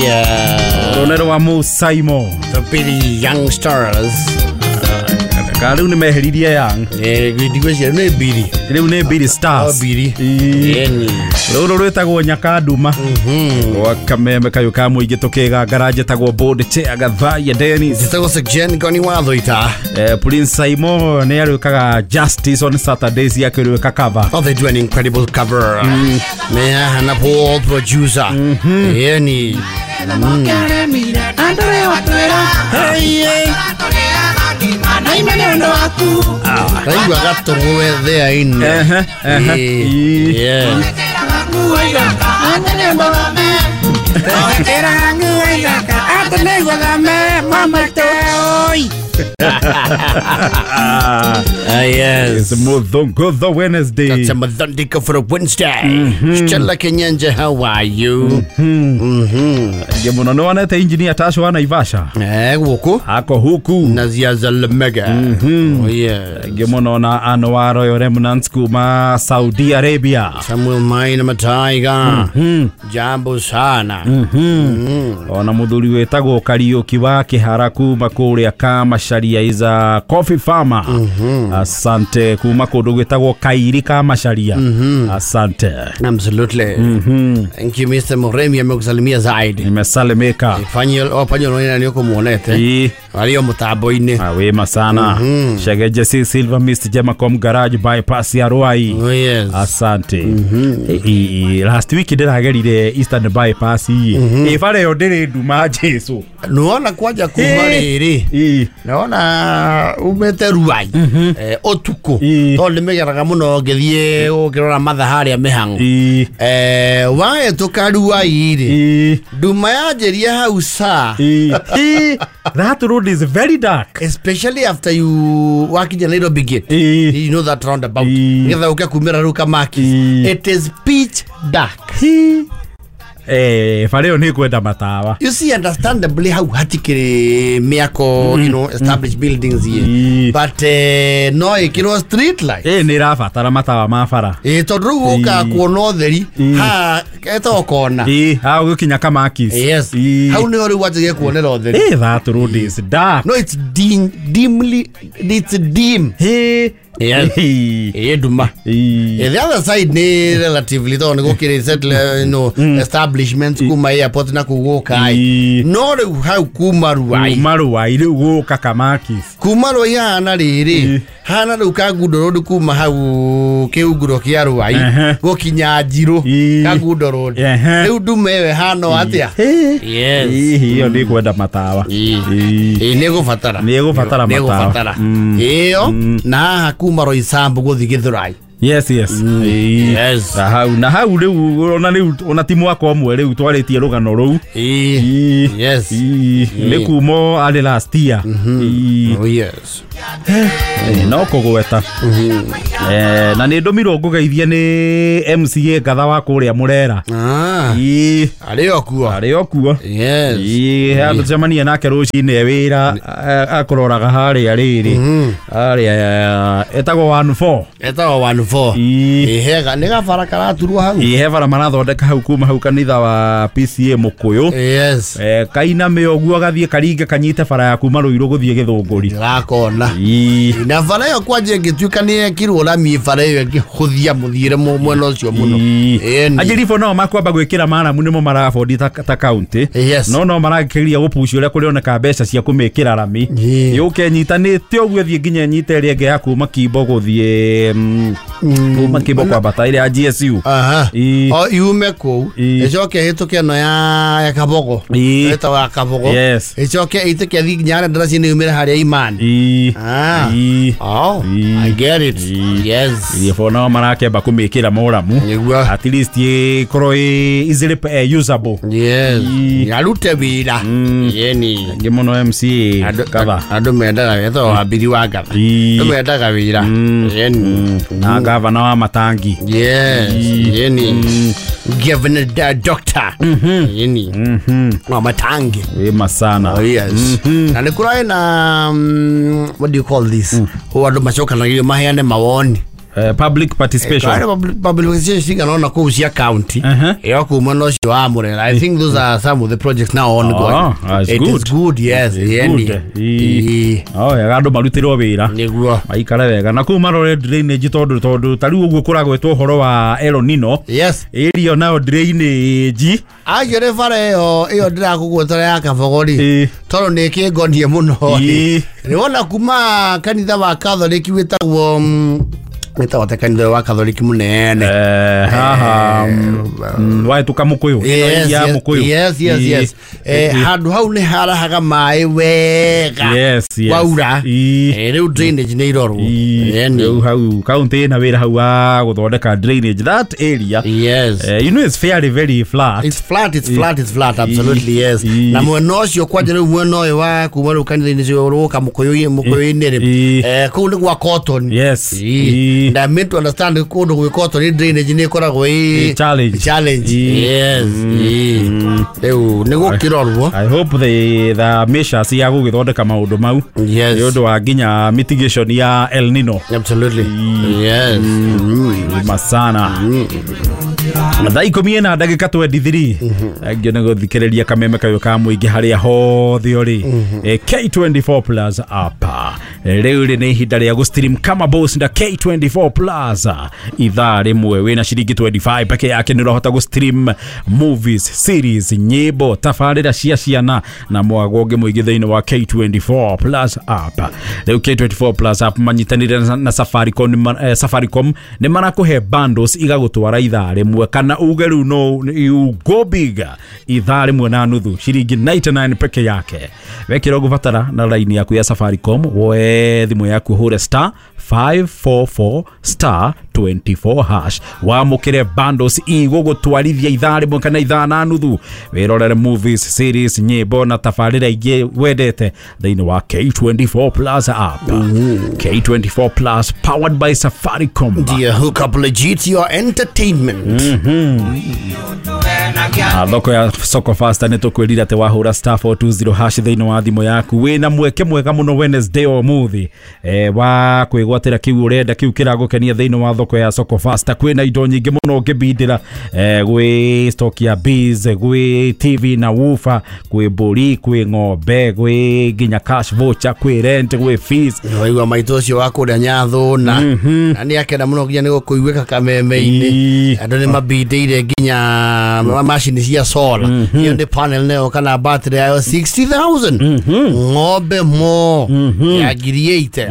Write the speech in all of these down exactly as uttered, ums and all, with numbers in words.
Yeah. Rũne rwa Musaimo. The Biddy Youngsters. Ka rĩu nĩ meheririe Young. Eh, ndigwĩciria nĩ Biddy. Rĩu nĩ Biddy Stars. Oh, Biddy. Ĩni. Rũrũ rwĩtagwo Nyakanduma. Mhm. Gwa kameme kayũ ka mũingĩ tũkĩgangara njĩtagwo Board Chair Gathaiya Dennis. Njĩtagwo Sir Goni Wathoita. Eh, Prince Saimo nĩ arĩũkaga Justice on Saturdays akĩrĩũka cover. Oh, they do an incredible cover. Mm. Mea na Paul producer. Mhm. Ĩni. Mm. Hey, hey. Raigua gatũgwe thĩa-inĩ. Ehe, ehe. Ĩĩ. Yeah. Ah, yes. It's Muthongo Wednesday. That's a Muthondiko for a Wednesday. Mm-hmm. Stella Kenyanja, how are you? Mm-hmm. Mm-hmm. Ngemuno nĩ wonete engineer Tasho wa Naivasha. Eh, gũkũ. Ako huku. Nazia Zalmega. Mm-hmm. Oh, yes. Ngemuno na Anwar Royal Remnants kuma Saudi Arabia. Samuel Maina Mataiga. Mm-hmm. Jambo sana. Mm-hmm. Mm-hmm. Ona muthuri wĩtagwo Kariũki wa Kĩhara kuma kũrĩa Kamacharia is a coffee farmer. Mm-hmm. Asante kuma kũndũ gwĩtagwo Kairi Kamacharia. Mm-hmm. Asante. Absolutely. Mm-hmm. Thank you Mister Muremi amekusalimia zaidi. Nimesalimika. Fanyol opanyo nĩ nĩ ũkũmuonete. Ii. Arĩ o mũtambo-inĩ. Ah, wema sana. Mm-hmm. Shegeje C Silver Mister Jemacom Garage bypass ya Ruai. Oh, yes. Asante. Mm-hmm. E, e, last week ndĩragerire Eastern bypass ii. Mm-hmm. Ĩ bara ĩyo ndĩrĩ nduma Jesu. Nĩwona kwanja kuma rĩrĩ. Ii. Naona umete Ruai. Mm-hmm. Eh, ũtukũ. Ii. Tondũ nĩmĩgeraga mũno ngĩthiĩ ũkĩrora mathaa harĩa mĩhang'o. Ii. Eh, wahĩtũka Ruai rĩ. Ii. Nduma yanjĩria hau saa. Ii. Ii. That road is very dark. Especially after you wakinya Nairobi gate. Ii. You know that roundabout. Ii. Nĩgetha ũke kumĩra rĩu Kamakis. Ii. It is pitch dark. Ii. Eh, bara ĩyo nĩ kwenda matawa. You see, understandably hau hatikĩrĩ mĩako, you know, established buildings here. Ii. But eh, no ĩkĩrwo street light. Ĩ nĩ ĩrabatara matawa ma bara. Ĩ tondũ rĩu ũkaga kuona ũtheri Ii. haha etagwo kona. Ii, hau gũkinya Kamakis. Yes. Ii. Hau nĩho rĩu wanjagia kuonera ũtheri. Ĩ, that road is dark. No, it's dim, dimly, it's dim. Ĩ. Yes. Ii. Ĩ nduma. Ii. Eh, the other side nĩ relatively tondũ nĩ gũkĩrĩ settle, you know, establishments kuma airport na kũu gũka Ii. no rĩu hau kuma Ruai. Kuma Ruai rĩu gũka Kamakis. Kuma Ruai hahana rĩrĩ Ii. hahana rĩu Kangundo Road kuma hau kĩunguro kĩa Ruai Ehe. gũkinya Njirũ Ii. Kangundo Road. Ehe. Rĩu nduma ĩyo ĩhana o atĩa? Ĩ. Yes. Ĩ, ĩyo nĩ kwenda matawa. Ii. Ii. Ĩ nĩ ĩgũbatara. Nĩ ĩgũbatara Nĩ matawa. ĩgũbatara. Mm. Ĩyo Mm. na haha kuma Roysambu gũthiĩ Gĩthũrai. Yes, yes. Ii. Yes. Na hau na hau rĩu ona rĩu ona ti mwaka ũmwe rĩu twarĩtie rũgano rũu. Ii. Ii. Yes. Ii. Nĩ kumo arĩ last year. Ii. Oh, yes. Eh, no kũgweta. Eh, na nĩ ndũmirwo ngũgeithie nĩ M C A Ngatha wa kũrĩa Mũrera. Ah. Ii. Arĩ o kuo. Arĩ o kuo. Yes. Ii, handũ tũcemanie nake rũcinĩ wĩra akũroraga harĩa rĩrĩ. Harĩa etagwo one four. Etagwo one four. Ii. Ĩ hega nĩ gabara karaturwo hau. Ii, he bara marathondeka hau kuma hau kanitha wa P C A Mũkũyũ. Yes. Eh, kainame ũguo gathiĩ karinge kanyite bara ya kuma Rũirũ gũthiĩ Gĩthũngũri. Ndĩrakona. Ii. Na bara ĩyo kwanja ĩngĩtuĩka nĩ yekirwo rami bara ĩyo ĩngĩhũthia mũthiĩre mũ- mwena ũcio mũno. Ii. Ĩni. Anjirifo no makwamba gwĩkĩra maramu nĩmo marabondi ta, ta county. Yes. No no marakĩria gũpucio ũrĩa kũrĩoneka mbeca cia kũmĩkĩra rami. Ii. Yũke nyitanĩte ũguo ĩthiĩ nginya ĩnyite ĩrĩa ĩngĩ ya kuma Kimbo gũthiĩ mm, kuma Kimbo kwambata ĩrĩa ya G S U. Aha. Ii. O yume kũu Ii. ĩcoke ĩhĩtũke ĩno ya ya Kabogo. Ii. Ĩtagwo ya Kabogo. Yes. Ĩcoke ĩhĩtũke ĩthiĩ nginya harĩa ndaraca-inĩ yumĩre harĩa Imani. Ii. Ah. Ii. Oh, Ii. I get it. Ii. Yes. Irifo nao marakĩamba kũmĩkĩra moramu. Nĩguo. At least ĩkorwo ĩ easily eh, usable. Yes. Ii. Arute wĩra. Mm. Yeni. Ngĩ mũno M C A Andũ Ngatha. andũ mendaga etagwo Wambiri wa Ngatha. Ii. Andũ mendaga wĩra. Mm. Yeni. Na gavana wa Matangi. Yes. Ii. Yeni. Mm. Governor uh, Doctor. Yeni. Mhm. Wa Matangi. Wema sana. Oh, yes. Na nĩ kũrarĩ na mm, what do you call this? Mm. Andũ macokanagĩrio maheane mawoni. Eh, public participation. Kwari public cigana ona kũu cia county Uh-huh. ĩyo kuma na ũcio wa Murera. I think those are some of the projects now ongoing. Oh, that's It good. is good, yes. It's Yani. good. Ii. Ii. Oh, wega andũ marutĩrwo wĩra Nĩguo. maikare wega na kũu marore drainage tondũ tondũ ta rĩu ũguo kũragwetwo ũhoro wa El Nino Yes. area nayo drainage. Actually bara ĩyo ĩyo ndĩrakũgwetera ya Kabogori Ii. tondũ nĩ ĩkĩngonie mũno. Ii. Nĩwona kuma kanitha wa Catholic wĩtagwo mm, wĩtagwo ta kanitha wa Catholic mũnene. Eh, haha mm, wahĩtũka Mũkũyũ. Yes, ya yes, Mũkũyũ. yes, yes, Ii. yes. Eh, handũ hau nĩ harahaga maĩ wega Yes, yes. waura. Ii. Eh, rĩu drainage nĩ irorwo. Yani. Rĩu hau kaunti ĩna wĩra hau wa gũthondeka drainage that area. Yes. Eh, you know it's fairly very flat. It's flat, it's flat, it's flat, absolutely, yes. Ii. Na mwena ũcio kwanja rĩu mwena ũyũ wa kuma rĩu kanitha-inĩ ũcio ũroka mũkũyũ mũkũyũ-inĩ rĩ, Ii. eh, kũu nĩ gwa cotton. Yes. Ii. Ii. And I meant to understand kũndũ gwĩ cotton drainage nĩ ĩkoragwo ĩ Ĩ challenge. challenge. Ii. Yes. Ii. Rĩu nĩ gũkĩrorwo. I hope the the measures ya gũgĩthondeka maũndũ mau Yes. nĩ ũndũ wa nginya mitigation ya El Nino. Absolutely. Yes. Mm. Masana thaa ikũmi na ndagĩka twenty-three angĩ nĩ gũthikĩrĩria kameme kayũ ka mũingĩ harĩa hothe ũrĩ. Eh, K twenty-four plus apa rĩu rĩ nĩ ihinda rĩa gũstream kama boss na K twenty-four plus ithaa rĩmwe wĩna ciringi twenty-five peke yake nĩ ũrahota gũstream movies, series, nyĩmbo, tabarĩra cia ciana na mwago ũngĩ mũingĩ thĩinĩ wa K twenty-four plus app. Rĩu K twenty-four plus app manyitanĩire na, na Safaricom, eh, Safaricom nĩ marakũhe bundles igagũtwara ithaa rĩmwe kana uge rĩu no you go big ithaa rĩmwe na nuthu ciringi ninety-nine peke yake. Wekĩra ũgũbatara na line yaku ya Safaricom woe thimũ yaku hũre star five four four star twenty-four hash wamũkĩre bundles igũgũtwarithia ithaa rĩmwe kana ithaa na nuthu wĩrorere movies, series, nyĩmbo na tabarĩra ingĩ wendete thĩinĩ wa K twenty-four plus app. K twenty-four plus powered by Safaricom. Dear, hook up legit your entertainment. Ah, thoko ya Soko Fasta nĩ tũkwĩrire atĩ wahũra star four two zero hash thĩinĩ wa thimũ yaku wĩna mweke mwega mũno Wednesday ũmũthĩ eh, wa kwĩgwatĩra kĩu ũrenda kĩu kĩragũkenia thĩinĩ wa thoko ya Soko Fasta. Kwĩna indo nyingĩ mũno ũngĩbindĩra eh, gwĩ stock ya bees, gwĩ T V na woofer, gwĩ mbũri, gwĩ ng'ombe, gwĩ nginya cash voucher, kwĩ rent, gwĩ fees. Waigua maitũ ũcio wa kũrĩa Nyathũna na nĩ akenda mũno nginya nĩ gũkũiguĩka kameme-inĩ. Andũ nĩ mabindĩire nginya macini cia solar. Iyo nĩ panel nayo kana battery yayo sixty thousand. Ng'ombe mo ya ngiri eighty.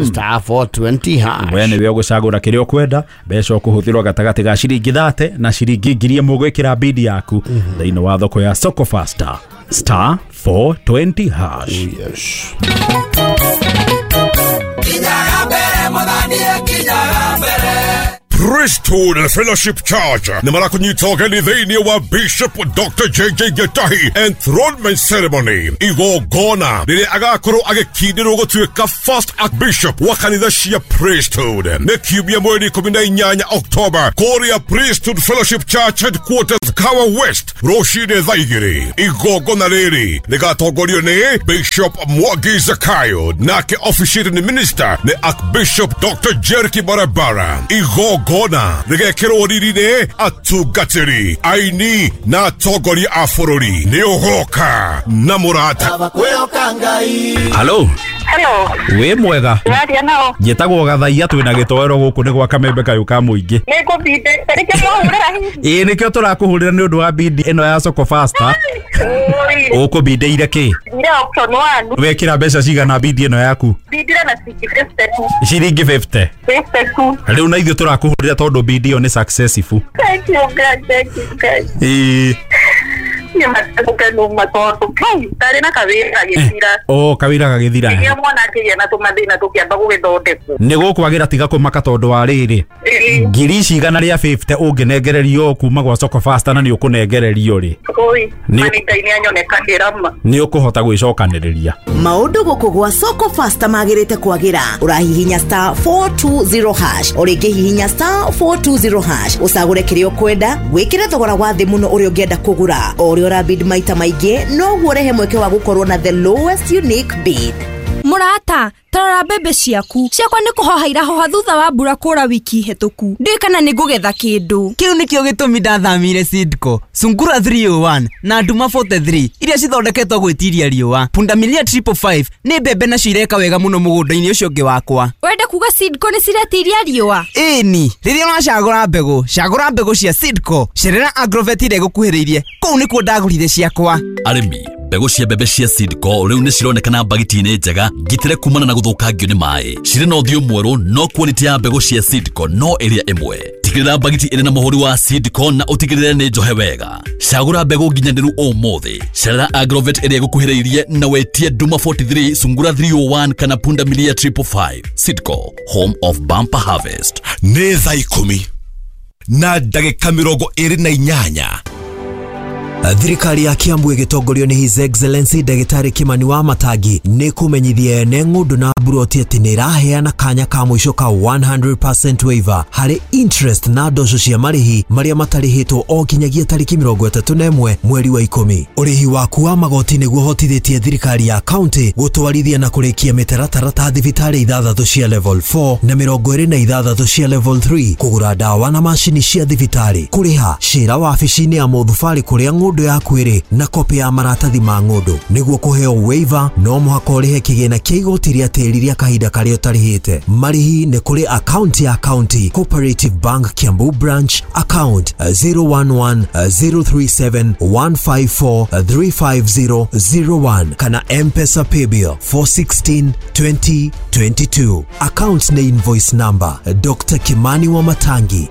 Star four twenty hash. We nĩwe ũgũcagũra kĩrĩa ũkwenda mbeca ũkũhũthĩrwo gatagatĩ ga ciringi thate na ciringi ngiri ĩmwe gwĩkĩra bidi yaku thĩinĩ wa thoko ya Soko Fasta star four twenty hash. Yes. Priesthood Fellowship Church nĩ marakũnyita ũgeni thĩinĩ wa Bishop Doctor J J Gitahi Enthronement Ceremony igongona rĩrĩa agakorwo agĩkindĩrwo gũtuĩka First Archbishop wa kanitha cia Priesthood. Nĩ kiumia mweri ikũmi na inyanya October kũrĩa Priesthood Fellowship Church Headquarters Kawa West rũcinĩ thaa igĩrĩ. Igongona rĩrĩ rĩgatongorio nĩ Bishop Mwangi Zakayo nake officiating minister nĩ Archbishop Doctor Jericho Barabara. Igongona rĩgekĩrwo riri nĩ atungatĩri, aini na atongoria a bũrũri. Nĩ ũgoka na mũrata. Hello. Hello. Wĩ mwega? Ndĩraria nao. Njĩtagwo Gathaia twĩna gĩtoero gũkũ nĩ gwa kamembe kayũ ka mũingĩ. Nĩ ngũbindĩte nĩkĩo mwahũrĩra hihi. Ĩĩ nĩkĩo tũrakũhũrĩra nĩ ũndũ wa bindi ĩno ya Soko Fasta. Ũkũbindĩire kĩ? Ndire option one. Wekĩra mbeca cigana bindi ĩno yaku? Bindire na ciringi fifty two. Ciringi fifty. Fifty two. Rĩu na ithuĩ tũrakũhũrĩra tondũ bindi ĩyo nĩ successful. Thank you God, thank you God. Ĩĩ. Nĩ matukenu tondũ kai ndarĩ na kawĩra gagĩthira. Oh, kawĩra gagĩthira. Nginya mwana akĩgĩa na tũmathĩna tũkĩamba gũgĩthondekwo. Nĩ gũkwagĩra tiga kũmaka tondũ wa rĩrĩ. Ngiri ici igana rĩa fifty ũngĩnengererio kuma gwa Soko Fasta na nĩ ũkũnengererio rĩ. Oi, mani Ngai nĩ anyonekagĩra ma. Nĩ ũkũhota gwĩcokanĩrĩria. Maũndũ gũkũ gwa Soko Fasta magĩrĩte kwagĩra. Ũrahihinya star four two zero hash. Ũrĩngĩ hihinya star four two zero hash. Ũcagũre kĩrĩa ũkwenda, wĩkĩre thogora wa thĩ mũno ũrĩa ũngĩenda kũgũra. O ũrĩa ũrabid maita maingĩ, noguo ũrehe mweke wa gũkorwo na the lowest unique bid. Mũrata, tarora mbembe ciaku. Ciakwa nĩ kũhoha irahoha thutha wa mbura kũra wiki hĩtũku. Ndiũĩ kana nĩ ngũgetha kĩndũ. Kĩu nĩkĩo gĩtũmi ndathamire Seedco, Sungura three oh one na Nduma forty-three iria cithondeketwo gwĩtiria riũa. Pundamilia triple five nĩ mbembe nacio ireka wega mũno mũgũnda-inĩ ũcio ũngĩ wakwa. Wenda kuga Seedco nĩ ciretiria riũa? Ĩni, rĩrĩa ũracagũra mbegũ, cagũra mbegũ cia Seedco. Cerera Agrovet ĩrĩa ĩgũkuhĩrĩirie, kũu nĩkuo ndagũrire ciakwa. Arĩmi, mbegũ cia mbembe cia Seedco rĩu nĩ cironekana mbagiti-inĩ njega ngitĩre kumana na gũthũkangio nĩ maĩ. Cirĩ na ũthiũ mwerũ no quality ya mbegũ cia Seedco no ĩrĩa ĩmwe. Tigĩrĩra mbagiti ĩrĩ na mũhũri wa Seedco na ũtigĩrĩre nĩ njohe wega. Cagũra mbegũ nginyanĩru ũmũthĩ. Cerera Agrovet ĩrĩa ĩgũkuhĩrĩirie na wetie Nduma forty-three, Sungura three oh one kana Pundamilia triple five. Seedco, home of bumper harvest. Nĩ thaa ikũmi na ndagĩka mĩrongo ĩrĩ na inyanya. Thirikari ya Kiambu ĩgĩtongorio nĩ His Excellency Ndagĩtarĩ Kimani wa Matangi nĩ kũmenyithia ene ng'ũndũ na mburoti atĩ nĩ ĩraheana kanya ka mũico ka one hundred percent waiver harĩ interest na ndoco cia marĩhi marĩa matarĩhĩtwo o nginyagia tarĩki mĩrongo ĩtatũ na ĩmwe mweri wa ikũmi. Ũrĩhi waku wa magoti nĩguo ũhotithĩtie thirikari ya kaunti gũtwarithia na kũrĩkia mĩtaratara ta thibitarĩ ithathatũ cia level four na mĩrongo ĩrĩ na ithathatũ cia level three, kũgũra ndawa na macini cia thibitarĩ, kũrĩha cira wabici-inĩ ya mũthubarĩ kũrĩa ng'ũndũ yaku ĩrĩ na kopi ya maratathi ma ng'ũndũ. Nĩguo kũheo waiver no mũhaka ũrĩhe kĩgĩna kĩa igoti rĩa tĩri rĩa kahinda karĩa ũtarĩhĩte. Marĩhi nĩ kũrĩ account ya County Cooperative Bank Kiambu Branch, account zero one one zero three seven one five four three five zero zero one kana M-Pesa Paybill four sixteen twenty twenty-two. Account na invoice number Doctor Kimani wa Matangi.